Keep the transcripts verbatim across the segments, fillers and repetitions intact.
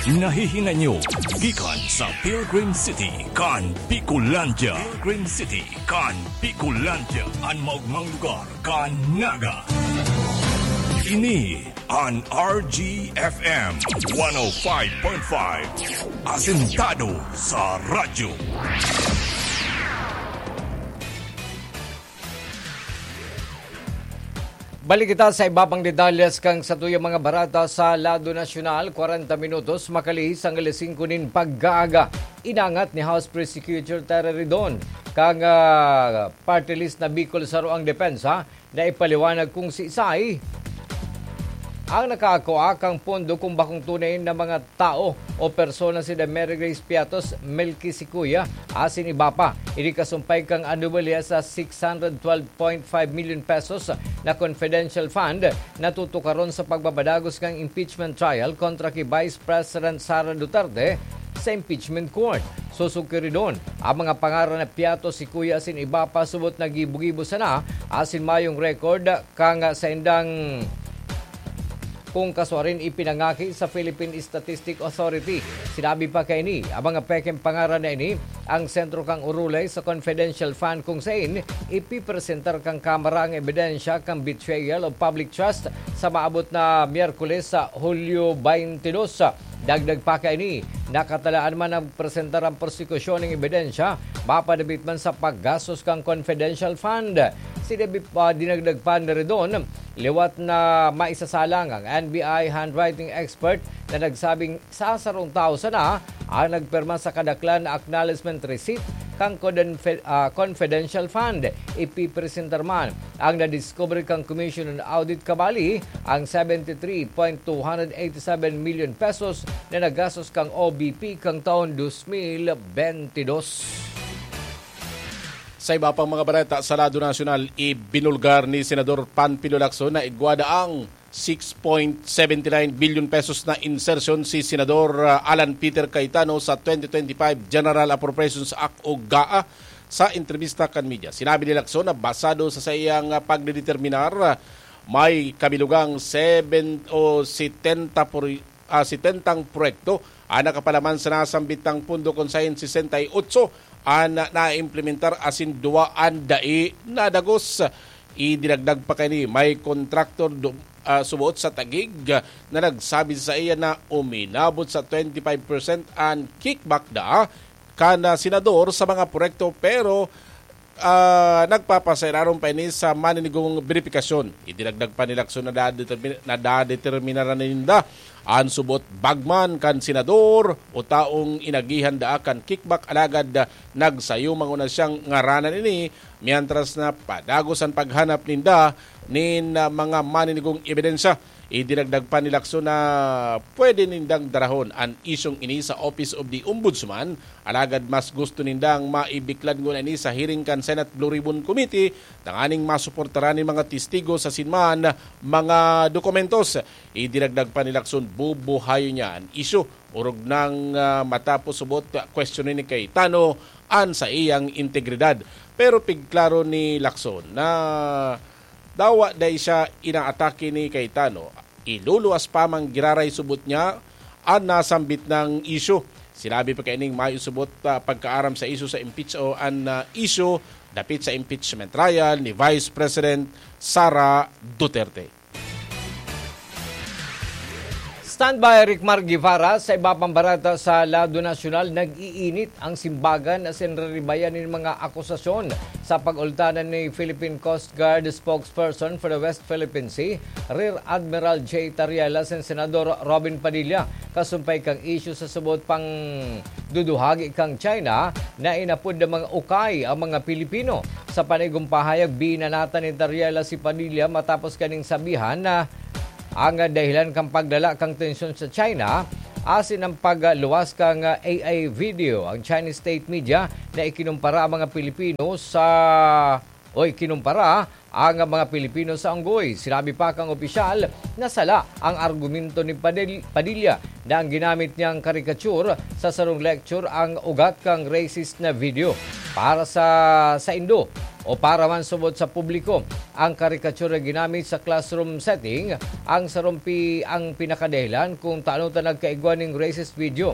Nahihinanyo gikan sa Pilgrim City kan Bicolandia. Pilgrim City kan Bicolandia, an maogmang lugar kan Naga. Ini an R G F M one oh five point five, asentado sa radyo. Balik kita sa iba pang detalles kan satuyang mga bareta sa lado nasyonal. Kwarenta minutos makalihis an alas singko nin pag-aaga. Inangat ni House Prosecutor Terry Ridon kan, ah, party list na Bicol Saro ang depensa na ipaliwanag kung siisay ang nakakua kan pondo, kung bakong tunay na mga tao o persona si Mary Grace Piatos, Melky Sikuya, asin iba pa. Ini kasumpay kan anomalya sa six hundred twelve point five million pesos na confidential fund na tutukaron sa pagpapadagos kan impeachment trial kontra ki Vice President Sara Duterte sa impeachment court. Sosog ki Ridon, ang mga pangaran na Piatos, Sikuya asin iba pa subot na gibo-gibo sana asin mayong record kan saindang kung kasuarin ipinangaki sa Philippine Statistic Authority. Sinabi pa kaini, ang mga pekeng pangaran na ini ang sentro kan urulay sa confidential fund kung sain ipipresentar kan Kamara ang ebidensya kan betrayal of public trust sa maabot na Miyerkules sa Hulyo twenty-two. Dagdag pa kaini, nakatalaan man na presentar an prosekusyon nin ebidensya mapanabit man sa paggastos kan confidential fund. Sinabi pa, dinagdag pa ni Ridon, liwat na maisasalang ang N B I handwriting expert na nagsabing sa sarong tawo sana ang nagpirma sa kadaklan na acknowledgement receipt kan codenfe-, ah, confidential fund. Ipipresentar man ang nadiskubre kan Commission on Audit kabali ang seventy three point two hundred eighty seven million pesos na nagastos kan O B P kan taon dos mil bentidós. Sa iba pang mga bareta sa lado nasyonal, ibinulgar ni Senador Panfilo Lacson na igwa daang six point seventy nine billion pesos na insertion si Senador, ah, Alan Peter Cayetano sa twenty twenty-five General Appropriations Act o GAA sa entrebista kan media. Sinabi ni Lacson na basado sa saiyang, ah, pagdedeterminar, ah, may kabilugang seven o setenta por-, ah, setentang proyekto ang nakapalaman sa nasambitang pondo, kun saen sesenta y ocho an naimplementar asin duwa an dai nadagos. Idinagdag pa kaini, may kontraktor do-, ah, suboot sa Taguig na nagsabi sa saiya na uminabot sa twenty five percent an kickback da kan, ah, senador sa mga proyekto, pero, ah, nagpapasayraron pa ini sa maninigong beripikasyon. Idinagdag pa ni Lacson na dadetermin-, na dadeterminaran ninda an subot bagman kan senador o taong inagihan daa kan kickback, alagad, ah, nagsayo manguna siyang ngaranan ini, mientras na padagos an paghanap ninda nin, ah, mga maninigong ebidensya. Idinagdag pa ni Lacson na pwede nindang darahon an isyong ini sa Office of the Ombudsman, alagad mas gusto nindang maibiklad nguna ini sa hearing kan Senate Blue Ribbon Committee, tanganing masuportaran nin mga testigo asin man mga dokumentos. Idinagdag pa ni Lacson, bubuhayon niya an isyu orog nang, ah, matapos subot kwestiyonin ni Cayetano an saiyang integridad. Pero pigklaro ni Lacson na dawa dai siya inaatake ni Cayetano, iluluwas pa man giraray subot niya an nasambit nang isyu. Sinabi pa kaining mayo subot, ah, pagkaaram sa isyu sa impeach o an, ah, isyu dapit sa impeachment trial ni Vice President Sara Duterte. Standby, Ricmar Guevara. Sa iba pang bareta sa lado nasyonal, nag-iinit ang simbagan asin riribayan nin mga akusasyon sa pag-ultanan ni Philippine Coast Guard spokesperson for the West Philippine Sea, Rear Admiral J Tariela, asin Senador Robin Padilla, kasumpay kan isyu sa subot pang duduhagi kan China na inapod na mga ukay ang mga Pilipino. Sa panigong pahayag, binanatan ni Tariela si Padilla matapos kaning sabihan na ang dahilan kan pagdala kan tensyon sa China asin ang pagluwas kan A I video ang Chinese state media na ikinumpara ang mga Pilipino sa, o ikinumpara ang mga Pilipino sa unggoy. Sinabi pa kang opisyal na sala ang argumento ni Padil-, Padilla na ang ginamit niyang karikature sa sarong lecture ang ugat kang racist na video. Para sa saindo, o para man subot sa publiko. Ang karikatura ginamit sa classroom setting, ang sarong pi-, ang pinakadahilan kung tano ta nagkaigwa ning racist video.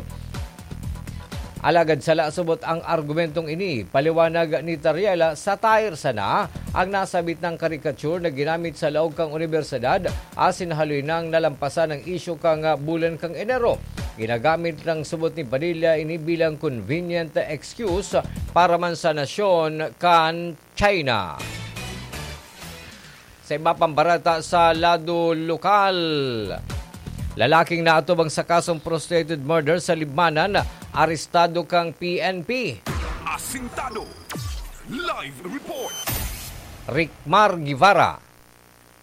Alagad sala subot ang argumentong ini. Paliwanag ni Tariela, satire sana ang nasabit ng karikature na ginamit sa laog kan unibersidad, asin haloy nang nalampasan ang isyu kan bulan kan Enero. Ginagamit lang subot ni Padilla ini bilang convenient excuse para man sa nasyon kan China. Sa iba pang bareta sa lado lokal, lalaking naatubang sa kasong frustrated murder sa Libmanan, arestado kan P N P. Asintado. Live report. Ricmar Guevara.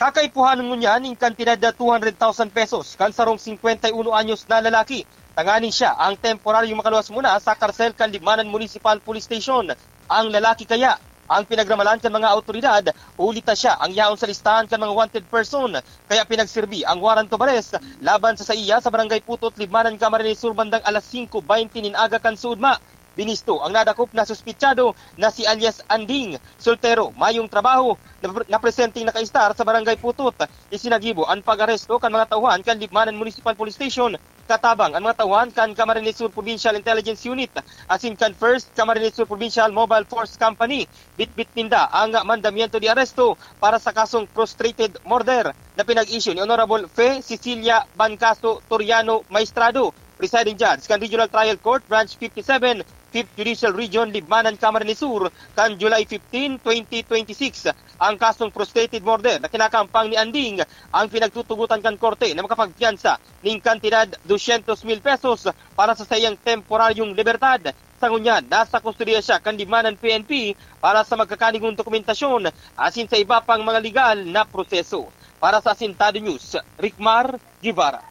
Kakaipuhan ngunyan nin kantidad na two hundred thousand pesos kan sarong singkwenta y uno anyos na lalaki, tanganing siya ang temporaryong makaluwas muna sa karsel kan Libmanan Municipal Police Station. Ang lalaki kaya ang pinagramalan kan mga awtoridad, huli ta siya ang yaon sa listahan kan mga wanted person, kaya pinagsirbi ang warrant of arrest laban sa saiya sa Barangay Putot, Libmanan, Camarines Sur, bandang alas singko baynte nin aga kan suudma. Binisto ang nadakop na suspetsado na si alias Anding, soltero, mayong trabaho, na, na presenteng nakaistar sa Barangay Putot. Isinagibo an pag-aresto kan mga tauhan kan Libmanan Municipal Police Station, katabang an mga tauhan kan Camarines Sur Provincial Intelligence Unit asin kan First Camarines Sur Provincial Mobile Force Company. Bitbit ninda ang mandamiento de aresto para sa kasong frustrated murder na pinag-issue ni Honorable Fe Cecilia Bancaso Toriano Maestrado, presiding judge kan Regional Trial Court, Branch fifty-seven, Fifth Judicial Region, Libmanan, Camarines Sur, kan July fifteen, twenty twenty-six. Ang kasong frustrated murder na kinakampang ni Anding ang pinagtutugotan kan korte na makapagpiyansa ning kantidad dosyentos mil pesos para sa saiyang temporaryong libertad. Sa ngunyan, nasa kustodiya siya kan Libmanan P N P para sa magkakanigong dokumentasyon asin sa iba pang mga legal na proseso. Para sa Asintado News, Ricmar Guevara.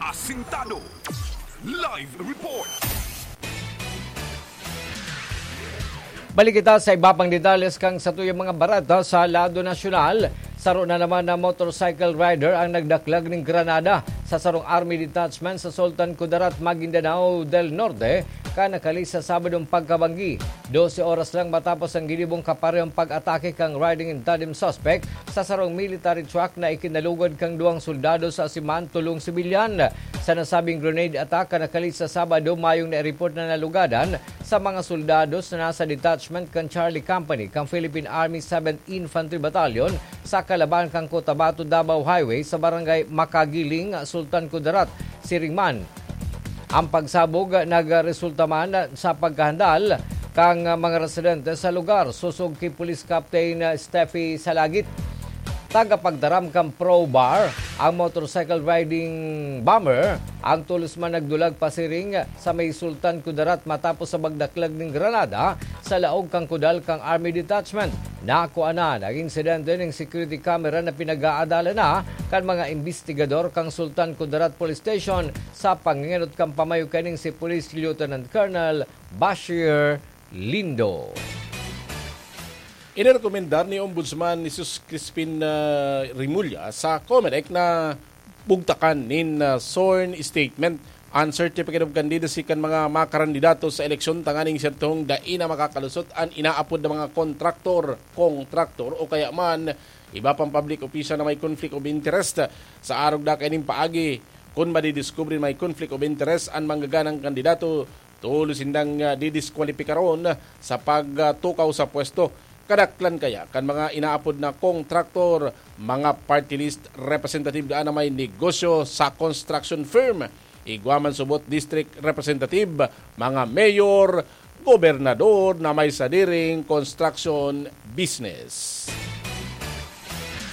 Asintado. Live report. Balik kita sa iba pang detalles kan satuyang mga bareta sa lado nasyonal. Saro na naman na motorcycle rider ang nagdaklag nin granada sa sarong army detachment sa Sultan Kudarat, Maguindanao del Norte, kan nakalihis sa Sabadong pagkabanggi. Dose oras lang matapos ang ginibong kaparehong pag-atake kan riding in tandem suspect sa sarong military truck na ikinalugod kan duwang soldados asin man tolong sibilyan. Sa nasabing grenade attack na nakalihis sa Sabado, mayong naireport na nalugadan sa mga soldados na nasa detachment kan Charlie Company kan Philippine Army Seventh Infantry Battalion sa kalaban kan Cotabato-Davao Highway sa barangay Makagiling, Sultan Kudarat, siring man. Ang pagsabog nagresulta man sa pagkahandal kan mga residente sa lugar, sosog ki Police Captain Steffi Salagit. Tagapagtaram kan Pro Bar, ang motorcycle riding bomber, ang tolos man nagdulag pasiring sa may Sultan Kudarat matapos sa pagdaklag nin granada sa laog kan kudal kan Army Detachment. Nakuanan ang insidente ning security camera na pinag-aadalan na kan mga imbestigador kan Sultan Kudarat Police Station sa pangenot kan pamayo kaning si Police Lieutenant Colonel Bashir Lindo. Inirekomendar ni Ombudsman Jesus Crispin, ah, Remulla sa Comelec na bugtakan nin, ah, sworn statement an Certificate of Candidacy kan mga makarandidato sa eleksyon tanganing sertong dai na makakalusot an inaapod na mga kontraktor, kontraktor o kaya man iba pang public official na may conflict of interest. Sa arog na kaining paagi, kun madidiskubre may conflict of interest an manggaganang kandidato, tolos sindang, ah, didiskwalipikaron sa pagtukaw sa pwesto. Kadaklan kaya kan mga inaapod na kontraktor, mga party list representative daan na may negosyo sa construction firm, igwa man subot district representative, mga mayor, gobernador na may sadiring construction business.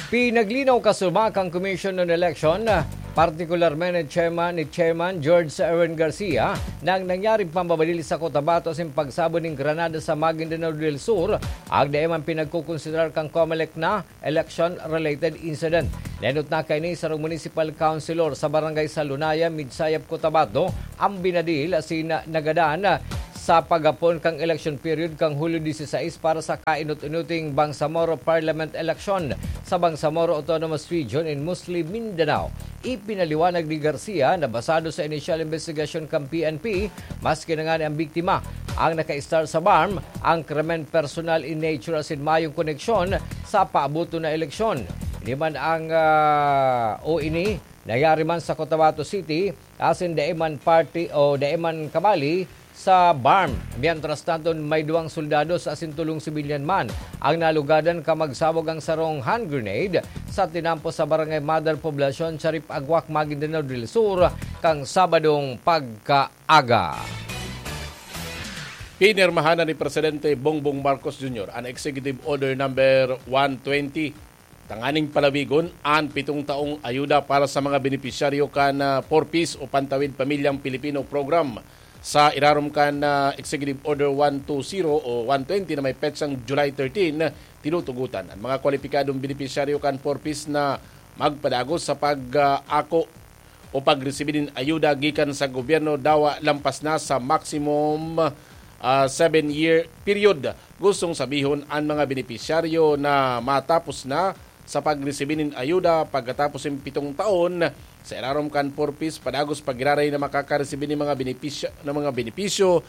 Pinaglinaw kasubakan Commission on Election, partikularmente chairman ni Chairman George Erwin Garcia, na ang nangyaring pambabadil sa Cotabato asin pagsabog nin granada sa Maguindanao del Sur, agda man pinagkukonsiderar kan Comelec na election-related incident. Naenot na kaini sarong municipal councilor sa barangay Salunaya, Midsayap, Cotabato, ang binadil asin nagadan sa paghapon kan election period kan Hulyo dieciséis para sa kainot-inoting Bangsamoro Parliament Election sa Bangsamoro Autonomous Region in Musli, Mindanao. Ipinaliwanag ni Garcia na basado sa inisyal investigasyon kan P N P, maski na ngani ang biktima ang naka-star sa BARMM, ang krimen personal in nature asin mayong koneksyon sa paabuton na eleksyon. Ini man ang, ah, o ini, nangyari man sa Cotabato City, asin dai man party o dai man kabali sa BARMM. Mientras tanto, may duwang soldados asin tolong sibilyan man ang nalugadan kan magsabog ang sarong hand grenade sa tinampo sa Barangay Mother Poblacion, Sharif Aguac, Maguindanao del Sur, kan Sabadong pagkaaga. Pinirmahan na ni Presidente Bongbong Marcos Junior an Executive Order Number one twenty, tanganing palawigon an pitong taong ayuda para sa mga benepisyaryo kan, ah, Four Ps o Pantawid Pamilyang Pilipino Program. Sa irarom kan, ah, Executive Order one two zero o one twenty na may petsang July thirteen, tinutugutan an mga kwalipikadong benepisyaryo kan Four Ps na magpadagos sa pag-ako o pagresibi nin ayuda gikan sa gobyerno dawa lampas na sa maximum, ah, seven-year period. Gustong sabihon, an mga benepisyaryo na matapos na sa pagresibi nin ayuda pagkatapos nin pitong taon sa irarom kan Four Ps padagos pa giraray na makakaresibi nin mga benepisyo, ng mga benepisyo.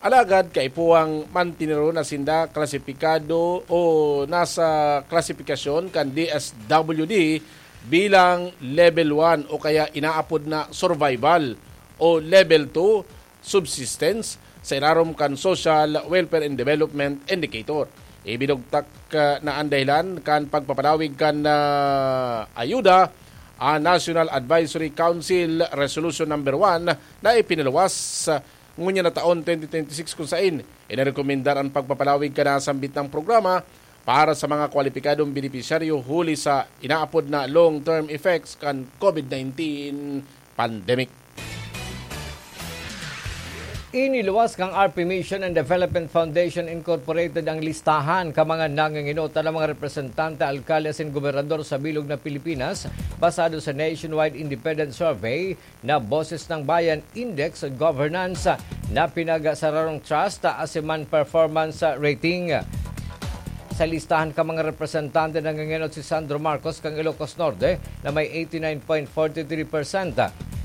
Alagad kaipuhang mantineron na sinda klasipikado o nasa klasipikasyon kan D S W D bilang Level one o kaya inaapod na survival o Level two subsistence sa irarom kan Social Welfare and Development Indicator. Ibinugtak, ah, na an dahilan kan pagpapalawig kan, ah, ayuda, ang National Advisory Council Resolution Number One na ipinaluwas, ah, ngunyan na taon twenty twenty-six, kung sain inarekomendar an pagpapalawig kan nasambit na programa para sa mga kwalipikadong benepisyaryo huli sa inaapod na long-term effects kan COVID nineteen pandemic. Iniluwas kan R P Mission and Development Foundation Incorporated ang listahan kan mga nanginginutan na mga representante, alkalde asin gobernador sa bilog na Pilipinas, basado sa Nationwide Independent Survey na Boses ng Bayan Index on Governance na pinagsararong trust asin man performance rating. Sa listahan kan mga representante, nangingenot si Sandro Marcos kan Ilocos Norte na may eighty nine point forty three percent.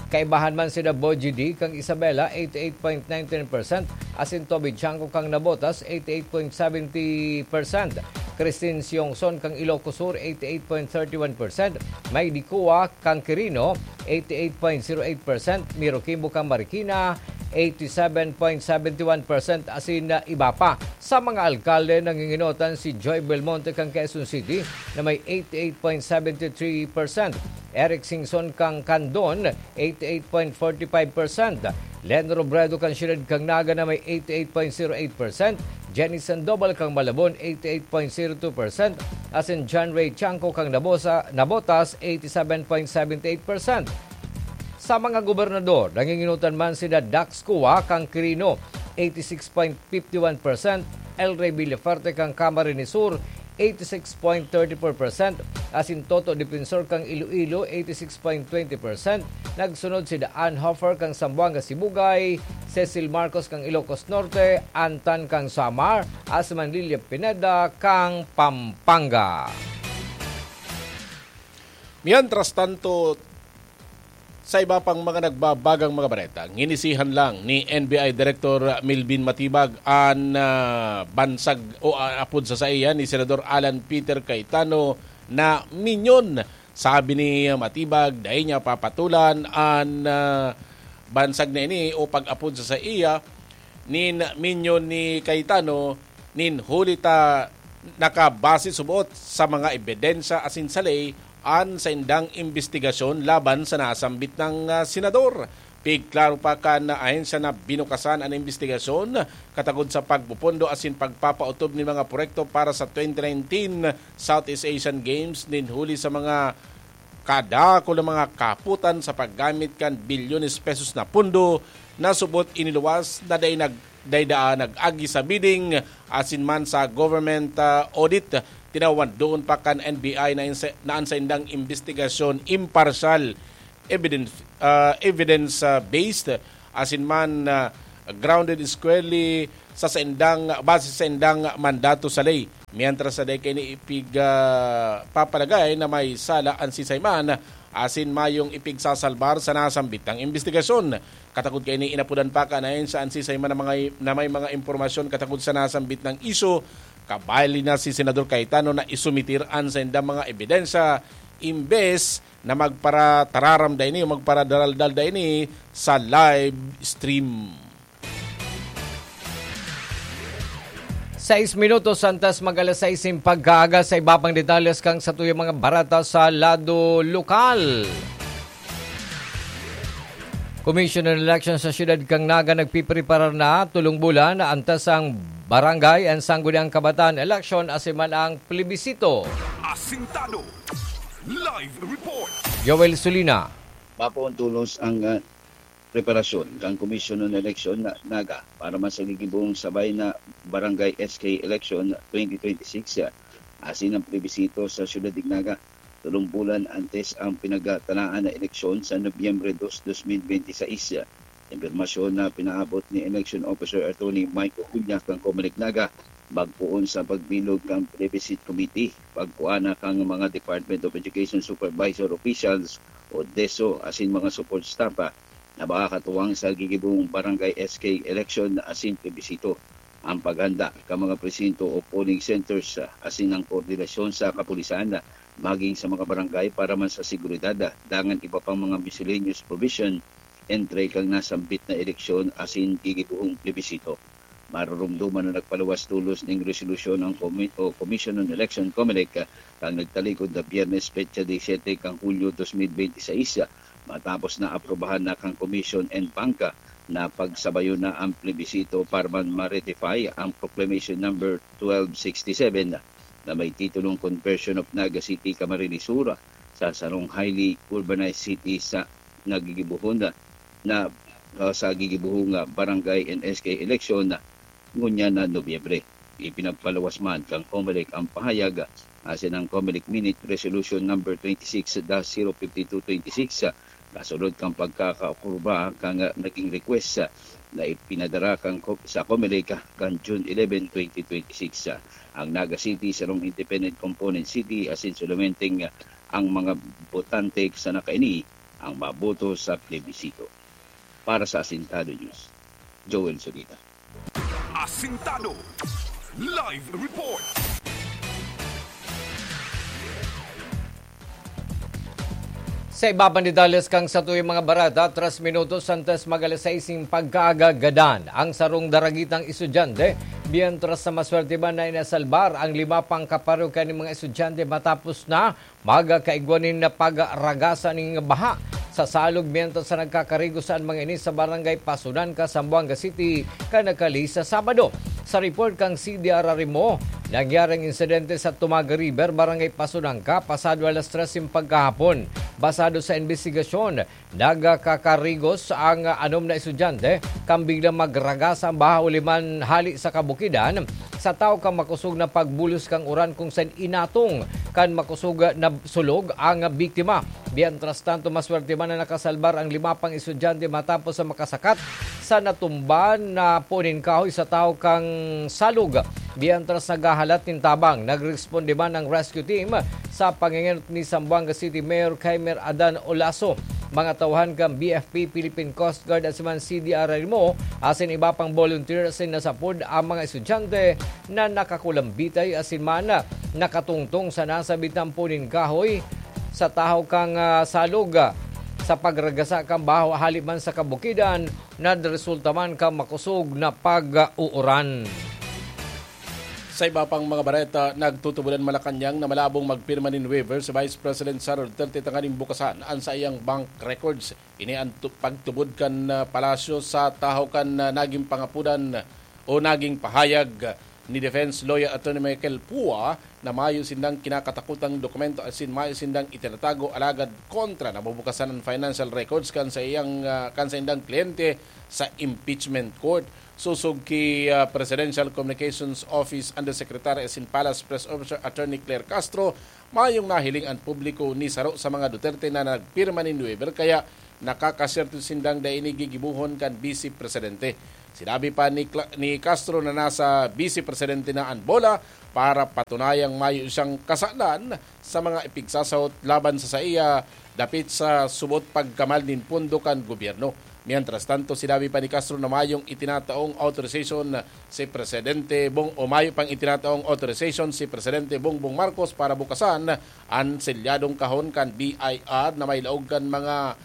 Kaibahan man sina Boy G D kan Isabela, eighty eight point nine nine percent, asin Toby Chanco kan Navotas, eighty eight point seventy percent. Christine Siongson kan Ilocos Sur, eighty eight point thirty one percent. May Dikua kan Quirino, eighty eight point zero eight percent, Miro Kimbo kan Marikina, eighty seven point seventy one percent, asin na iba pa. Sa mga alkalde, nanginginotan si Joy Belmonte kan Quezon City na may eighty eight point seventy three percent, Eric Singson kan Candon, eighty eight point forty five percent, Len Robredo kan Siyudad kan Naga na may eighty eight point zero eight percent, Jenny Sandoval kan Malabon, eighty eight point zero two percent, asin John Ray Chanco kan Nabosa-, Navotas, eighty seven point seventy eight percent. Sa mga gobernador, nanginginutan man sina Dax Cua kan Quirino, eighty six point fifty one percent, El Rey Villafuerte kan Camarines Sur, eighty six point thirty four percent, asin Toto Defensor kan Iloilo, eighty six point twenty percent. Nagsunod si Daan Hofer kan Zamboanga Sibugay, Cecil Marcos kan Ilocos Norte, Antan kan Samar, asin man Lilia Pineda kan Pampanga. Mientras tanto, sa iba pang mga nagbabagang mga bareta, ginisihan lang ni N B I Director Melvin Matibag an, ah, bansag o, ah, apod sa saiya ni Senador Alan Peter Cayetano na minyon. Sabi ni Matibag, dai niya papatolan an, ah, bansag na ini o pag-apod sa saiya nin minyon ni Cayetano nin huli ta nakabase subot sa mga ebidensya asin sa ley an saindang imbestigasyon laban sa nasambit na, ah, senador. Pigklaro pa kan ahensya na binukasan an imbestigasyon katagod sa pagpupundo asin pagpapaotob nin mga proyekto para sa twenty nineteen Southeast Asian Games nin huli sa mga kadakul na mga kahapotan sa paggamit kan bilyones pesos na pondo na subot iniluwas na dai nag-, dai daa nag-agi sa bidding asin man sa government, ah, audit. Tinawan doon pa kan N B I na insa-, na an saindang imbestigasyon imparsyal, evidence, ah, evidence, ah, based asin man, ah, grounded squarely sa saindang, base sa saindang mandato sa ley. Mientras sa dai kaini ipig, ah, papalagay na may sala an sisay man asin mayong ipigsasalbar sa nasambit na imbestigasyon. Katakod kaini, inapodan pa kan ahensya an sisay man na mga, na may mga impormasyon katakod sa nasambit na isyu. Kabali na si Senador Cayetano na isumitir an saindang mga ebidensya imbes na magparatararam daini o magparadaraldal daini sa live stream. Sais minutos antes mag alas sais nin pagkaaga. Sa iba pang detalles kan satuyang mga bareta sa lado lokal. Commission on Election sa siyudad kan Naga nagpipreparar na tolong bulan antes ang barangay and sangguniang kabataan election asin man ang plebisito. Asintado. Live report. Joel Sulina. Mapoon tolos ang, ah, preparasyon kan Commission on Election na Naga para man sa gigibong sabay na Barangay S K Election twenty twenty-six, ah, asin ang plebisito sa siyudad nin Naga, tolong bulan antes ang pinagtalaan na eleksyon sa Nobyembre dos, dos mil benti sais. Impormasyon na pinaabot ni Election Officer Attorney Mike Ocuña kan Comelec Naga, magpoon sa pagbilog kan Plebiscite Committee, pagkuana kan mga Department of Education Supervisor Officials o DESO asin mga support staff, ah, na makakatuwang sa gigibong Barangay S K election asin plebisito, ang paghanda kan mga presinto o polling centers, ah, asin ang koordinasyon sa kapulisan, ah, maging sa mga barangay para man sa seguridad, ah, dangan iba pang mga miscellaneous provision, entre kan nasambit na eleksyon asin gigibohong plebisito. Maroromdoman na nagpaluwas tolos ning resolusyon ang komi-, o Commission on Election, Comelec, ah, kan nagtalikod na Biyernes, petsa disiyete kan Hulyo dos mil benti sais, ah, matapos na aprubahan na kan Commission en banca na pagsabayon na ang plebisito para man ma-ratify ang Proclamation Number twelve sixty-seven na may titulong Conversion of Naga City, Camarines Sur, sa sarong highly urbanized city sa nagigibuhon na, na, ah, sa gigibuhong, ah, barangay and S K election na ngunyan na Nobyembre. Ipinagpaluwas man kan Comelec ang pahayag, ah, asin ang Comelec Minute Resolution Number twenty-six dash zero fifty-two twenty-six, ah, kasunod kan pagkakaapruba kan, ah, naging request, ah, na ipinadara kan Co-, sa Comelec, ah, kan June eleven, twenty twenty-six. Ah, ang Naga City, sarong independent component city, asin solomenteng, ah, ang mga botante sana kaini ang maboto sa plebisito. Para sa Asintado News, Joel Solita. Asintado. Live report. Sa iba pang detalles kan satuyang mga bareta, tres minutos antes mag alas sais nin pagkaaga, gadan ang sarong daragitang estudyante, mientras na maswerte man na inasalbar ang lima pang kaparokya nin mga estudyante matapos na magkaigwa nin pagragasan nin baha sa salog, mientras na nagkakarigos an mga ini sa Barangay Pasunan, Zamboanga City, kan nagkali sa Sabado. Sa report kan C D R R Arimo, nangyari ang insidente sa Tumaga River, Barangay Pasunan, pasado alas tres nin pagkahapon. Basado sa imbestigasyon, nagkakarigos ang anom na estudyante kan biglang magragas ang baha huli man hali sa kabukidan, sa tahaw kan makosog na pagbulos kan uran, kung saen inatong kan makosog na sulog ang biktima. Mientras tanto, maswerte man na nakasalbar ang lima pang estudyante matapos sa makasakat sa natumba na puon nin kahoy sa tahaw kan salog. Mientras naghahalat nin tabang, nagresponde man ang rescue team sa pangengenot ni Zamboanga City Mayor Kheimer Adan Olaso, mga tauhan kan B F P, Philippine Coast Guard asin man C D R Arimo, asin iba pang volunteer, asin nasapod ang mga estudyante na nakakulambitay asin man nakatungtong sa nasabit na puon nin kahoy sa tahaw kan, ah, salog, ah, sa pagragasa kan baha hali man sa kabukidan, nagresulta man kan makosog na pag-uuran. Sa iba pang mga bareta, nagtutubod an Malacañang na malabong magpirma nin waiver si Vice President Sara Duterte tanganing bukasan an saiyang bank records. Ini an tu-, pagtubod kan, ah, palasyo sa tahaw kan, ah, naging pangapodan o naging pahayag ni Defense Lawyer Attorney Michael Pua na mayo sindang kinakatakotang dokumento asin mayo sindang itinatago, alagad kontra na mabukasan an financial records kan saiyang, ah, kan saindang kliyente sa impeachment court. Sosog ki, ah, Presidential Communications Office Undersecretary asin Palace Press Officer Attorney Claire Castro, mayong nahiling an publiko ni saro sa mga Duterte na nagpirma nin waiver, kaya nakakaswerte sindang dai ini gigibohon kan Bise Presidente. Sinabi pa ni Cla-, ni Castro na nasa Bise Presidente na an bola para patunayang mayo siyang kasalan sa mga ipigsasahot laban sa saiya dapit sa subot pagkamal nin pondo kan gobyerno. Mientras tanto, sinabi pa ni Castro na mayong itinataong authorization si Presidente Bong-, o mayo pang itinataong authorization si Presidente Bongbong Marcos para bukasan an selyadong kahon kan B I R na may laog kan mga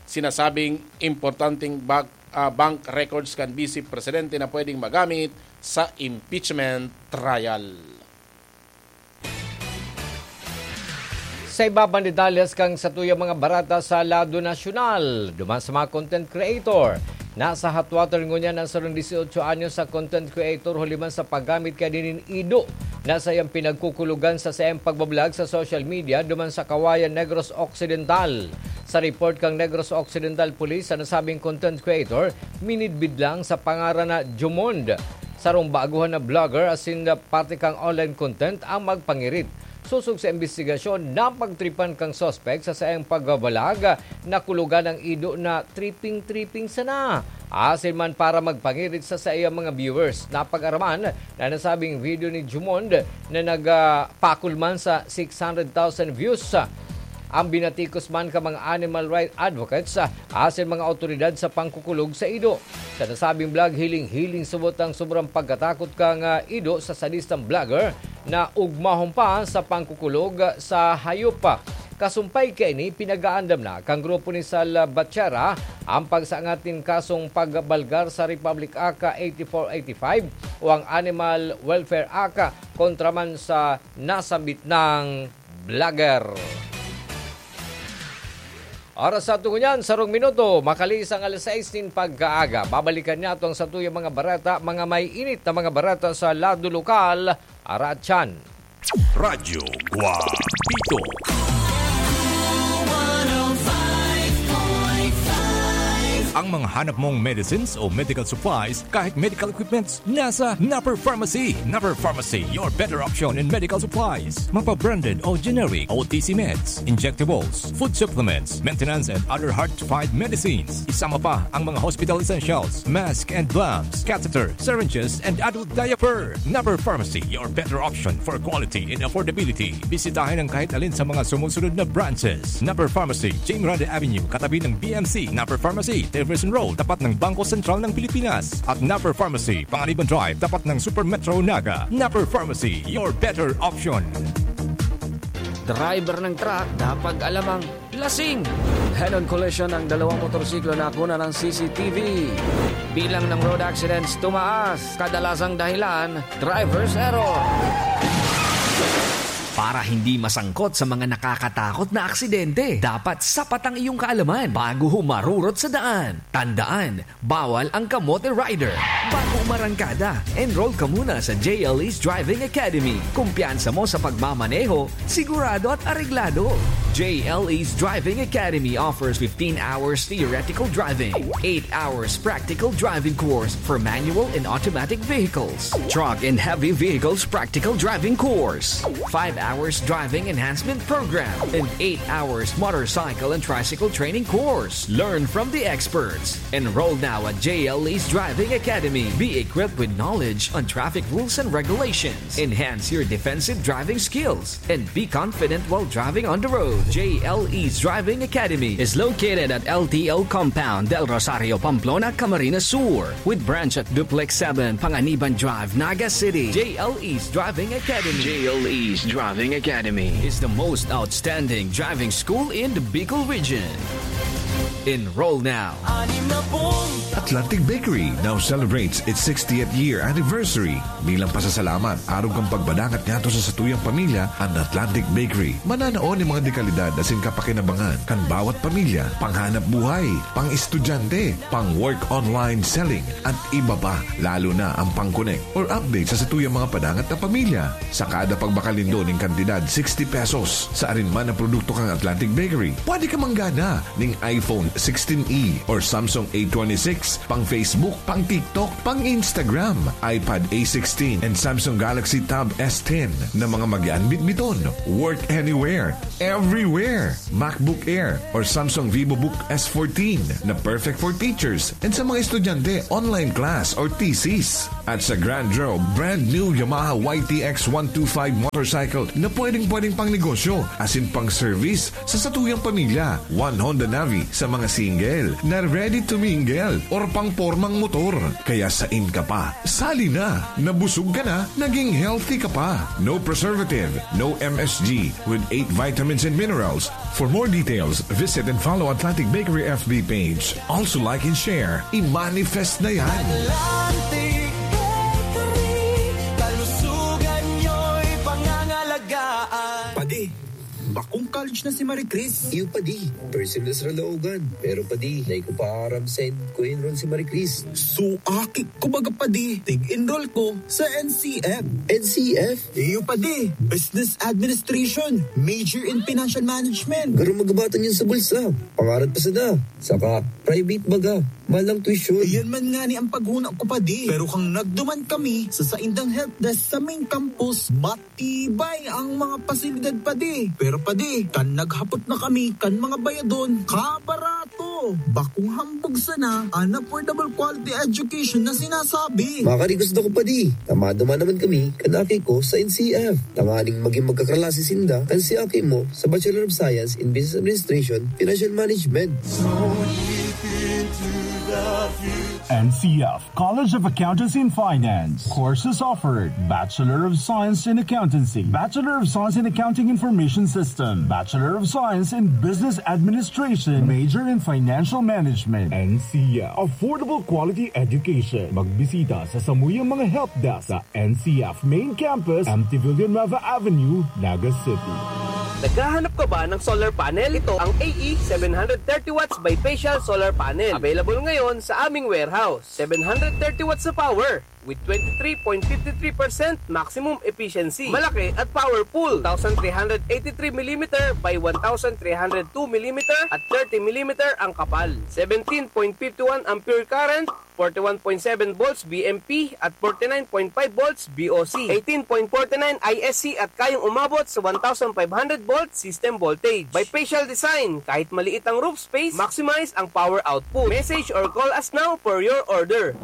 sinasabing importanteng bag-, ah, bank records kan Bise Presidente na pwedeng magamit sa impeachment trial. Sa iba pang detalles kan satuyang mga bareta sa lado nasyonal, duman sa mga content creator, nasa hot water ngunyan an sarong dieciocho anyos sa content creator huli man sa paggamit kaini nin ido na saiyang pinagkukulogan sa saiyang pagbablog sa social media duman sa Kawayan, Negros Occidental. Sa report kan Negros Occidental Police, an nasabing content creator minidbid lang sa pangaran na Jumond, sarong baguhan na vlogger asin parte kan online content ang magpangirit. Sosog sa imbestigasyon, napagtripan kan suspek sa saiyang pagbabalag na kulogan an ido na tripping-tripping sana, asin man para magpangirit sa saiyang mga viewers. Napag-araman na nasabing video ni Jumond na nagpakol man sa six hundred thousand views. Ang binatikos man kan mga animal rights advocates, ah, asin mga awtoridad sa pangkukulog sa ido. Sa nasabing vlog, hiling-hiling subot ang sobrang pagkatakot kan, ah, ido sa sadistang vlogger na ugmahon pa sa pangkukulog sa hayop. Kasumpay kaini, pinag-aandam na kan grupo ni Sal Batchera ang pagsangat nin kasong pagbalgar sa Republic Act eighty-four eighty-five o ang Animal Welfare Act kontra man sa nasambit nang vlogger. Oras sa aton ngunyan, sarong minuto, makalihis ang alas sais nin pagkaaga. Babalikan niyato ang satuyang mga bareta, mga may init na mga bareta sa lado lokal. Aratyan. Radyo Guapito. Ang mga hanap mong medicines o medical supplies, kahit medical equipments, nasa Napper Pharmacy. Napper Pharmacy, your better option in medical supplies. Mapa-branded o generic, O T C meds, injectables, food supplements, maintenance and other hard-to-find medicines. Isama pa ang mga hospital essentials, mask and gloves, catheter, syringes, and adult diaper. Napper Pharmacy, your better option for quality and affordability. Bisitahin ang kahit alin sa mga sumusunod na branches. Napper Pharmacy, Jane Miranda Avenue, katabi ng B M C. Napper Pharmacy, Tillerson Road, tapat ng Bangko Sentral ng Pilipinas. At Napper Pharmacy, Panganiban Drive, tapat ng Super Metro Naga. Napper Pharmacy, your better option. Driver ng truck, dapat alam ang lasing. Head-on collision ang dalawang motorsiklo na nakuna ng C C T V. Bilang ng road accidents tumaas, kadalasang dahilan, driver's error. Para hindi masangkot sa mga nakakatakot na aksidente, dapat sapat ang iyong kaalaman bago humarurot sa daan. Tandaan, bawal ang kamote rider. Bago umarangkada, enroll ka muna sa J L E's Driving Academy. Kumpiyansa mo sa pagmamaneho, sigurado at areglado. J L E's Driving Academy offers fifteen hours theoretical driving, eight hours practical driving course for manual and automatic vehicles, truck and heavy vehicles practical driving course, five hours driving enhancement program, and eight hours motorcycle and tricycle training course. Learn from the experts. Enroll now at J L E's Driving Academy. Be equipped with knowledge on traffic rules and regulations. Enhance your defensive driving skills and be confident while driving on the road. J L E's Driving Academy is located at L T O Compound, Del Rosario, Pamplona, Camarines Sur, with branch at Duplex seven, Panganiban Drive, Naga City. J L E's Driving Academy. J L E's Driving Academy is the most outstanding driving school in the Bicol region. Enroll now. Atlantic Bakery now celebrates its sixtieth year anniversary. Bilang pasasalamat, arog kan pagbadangat ngadto sa satuyang pamilya, an Atlantic Bakery mananao nin mga dekalidad asin kapakinabangan kan bawat pamilya, panghanap buhay, pang-estudyante, pang-work online selling, at iba pa, lalo na ang pang-connect or update sa satuyang mga padangat na pamilya. Sa kada pagbakal nindo nin kantidad sixty pesos sa arin man na produkto kan Atlantic Bakery, pwede ka manggana nin iPhone sixteen E or Samsung A twenty-six, pang Facebook, pang TikTok, pang Instagram, iPad A sixteen, and Samsung Galaxy Tab S ten na mga magaan bitbiton. Work anywhere, everywhere. MacBook Air or Samsung VivoBook S fourteen na perfect for teachers and sa mga estudyante, online class or thesis. At sa Grand Row, brand new Yamaha Y T X one two five motorcycle na pwedeng-pwedeng pang negosyo, asin pang service sa satuyang pamilya. One Honda Navi sa mga single na ready to mingle or pang pormang motor. Kaya sain ka pa, sali na. Nabusog ka na, naging healthy ka pa. No preservative, no M S G, with eight vitamins and minerals. For more details, visit and follow Atlantic Bakery F B page. Also like and share. I-manifest na yan. Atlantic Bakery, kalusugan nyo'y pangangalagaan. Padi, bakong college na si Marie Chris. Iyo, Padi. Personal sa laogan. Pero, Padi, dai ko pa aram saen ko enroll si Marie Chris. So, aki ko baga, Padi. Tig-enroll ko sa N C F. N C F? Iyo, Padi. Business Administration. Major in Financial Management. Garo magabatan yun sa bulsa. Pangarap pa sana. Saka, private baga. Malang tuition. Iyan man nga ni ang paghuna ko, Padi. Pero kang nagduman kami sa saindang help desk sa main campus, matibay ang mga pasilidad, Padi. Pero, Padi, kan naghapot na kami kan mga bayadon, kabarato. Bakong hambog sana an affordable quality education na sinasabi. Makarigos na ko, Padi. Tama duman naman kami kan aki ko sa N C F. Tanganing maging magkaklase sinda kan si aki mo sa Bachelor of Science in Business Administration, Financial Management. N C F College of Accountancy and Finance. Courses offered: Bachelor of Science in Accountancy, Bachelor of Science in Accounting Information System, Bachelor of Science in Business Administration, major in Financial Management. N C F. Affordable quality education. Magbisita sa samuyang mga help desk sa N C F Main Campus, M T Villanueva Avenue, Naga City. Naghahanap ka ba ng solar panel? Ito ang A E seven hundred thirty watts bifacial solar panel. Available ngayon sa aming warehouse. Seven hundred thirty watts sa power with twenty-three point five three percent maximum efficiency. Malaki at powerful. Two thousand three hundred eighty-three millimeter by one thousand three hundred two millimeter at thirty millimeter ang kapal. Seventeen point five one ampere current, forty-one point seven volts V M P at forty-nine point five volts V O C, eighteen point forty-nine I S C at kayang umabot sa one thousand five hundred volt system voltage. Bifacial design, kahit maliit ang roof space, maximize ang power output. Message or call us now for your order.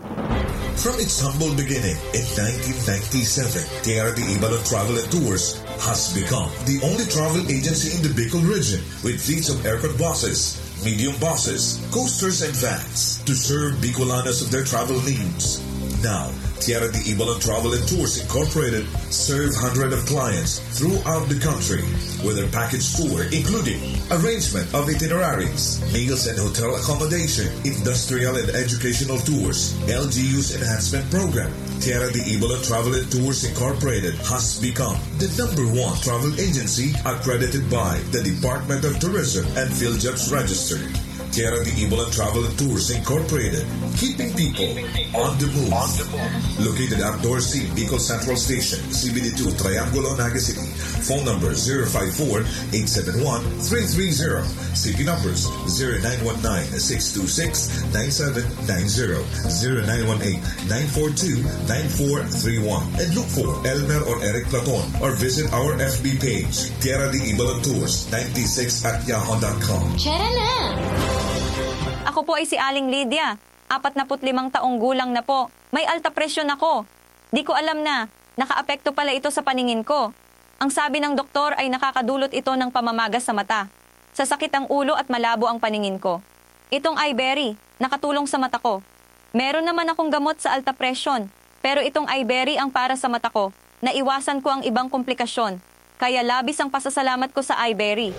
From its humble beginning in nineteen ninety-seven, Tierra de Ibalon Travel and Tours has become the only travel agency in the Bicol region with fleets of aircon buses, medium buses, coasters, and vans to serve Bicolanos of their travel needs. Now, Tierra de Ibalon Travel and Tours Incorporated serve hundreds of clients throughout the country with their package tour, including arrangement of itineraries, meals and hotel accommodation, industrial and educational tours, L G U's enhancement program. Tierra de Ibalon Travel and Tours Incorporated has become the number one travel agency accredited by the Department of Tourism and PhilJobs Register. Tierra de Ibalon Travel and Tours Incorporated, keeping people on the move. Located at Dorsey, Bicol Central Station, C B D two, Triangulo, Naga City. Phone number zero five four, eight seven one, three three zero. C P numbers zero nine one nine, six two six, nine seven nine zero, zero nine one eight, nine four two, nine four three one. And look for Elmer or Eric Platon or visit our F B page, Tierra de Ibalon Tours ninety-six at yahoo dot com. Tara na! Ako po ay si Aling Lydia. Apat na put limang taong gulang na po. May alta presyon ako. Di ko alam na nakaapekto pala ito sa paningin ko. Ang sabi ng doktor ay nakakadulot ito ng pamamaga sa mata, sasakit ang ulo at malabo ang paningin ko. Itong Iberry, nakatulong sa mata ko. Meron naman akong gamot sa alta presyon, pero itong Iberry ang para sa mata ko. Naiwasan ko ang ibang komplikasyon, kaya labis ang pasasalamat ko sa Iberry.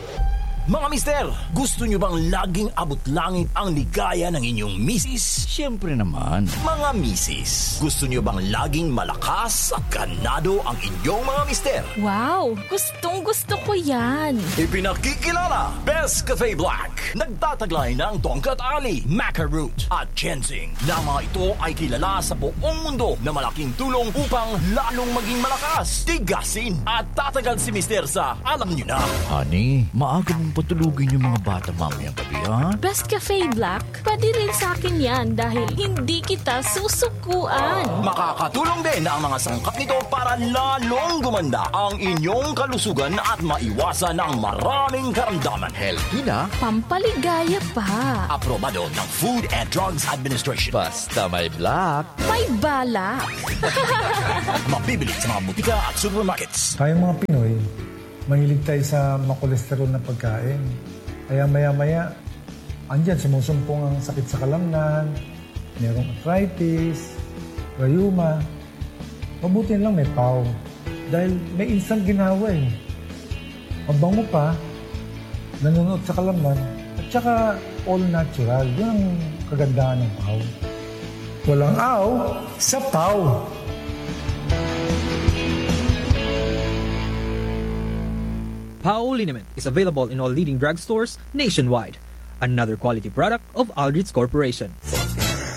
Mga mister, gusto nyo bang laging abot langit ang ligaya ng inyong misis? Siyempre naman. Mga misis, gusto nyo bang laging malakas at ganado ang inyong mga mister? Wow! Gustong gusto ko yan! Ipinakikilala, Best Cafe Black. Nagtataglay ng Tongkat Ali, Maca Root, at Ginseng. Na mga ito ay kilala sa buong mundo na malaking tulong upang lalong maging malakas, tigasin, at tatagal si mister sa alam nyo na. Honey, maaga mong Patulugin yung mga bata mamayang gabi, ha? Best Cafe Black, pwede rin sa akin yan dahil hindi kita susukuan. Makakatulong din ang mga sangkap nito para lalong gumanda ang inyong kalusugan at maiwasan ang maraming karamdaman. Healthy na, Pampaligaya pa. Aprobado ng Food and Drugs Administration. Basta may black. May balak. Mabibili sa mga butika at supermarkets. Tayong mga Pinoy, mahilig tayo sa makolesterol na pagkain. Kaya maya-maya, andyan sumusumpong ang sakit sa kalamnan, merong arthritis, rayuma. Mabuti lang may pau. Dahil may instant ginawa eh. Mabango pa, nanunuot sa kalamnan, at saka all natural. Yun ang kagandahan ng pau. Walang aw sa pau. Pao liniment is available in all leading drugstores nationwide. Another quality product of Aldrich Corporation.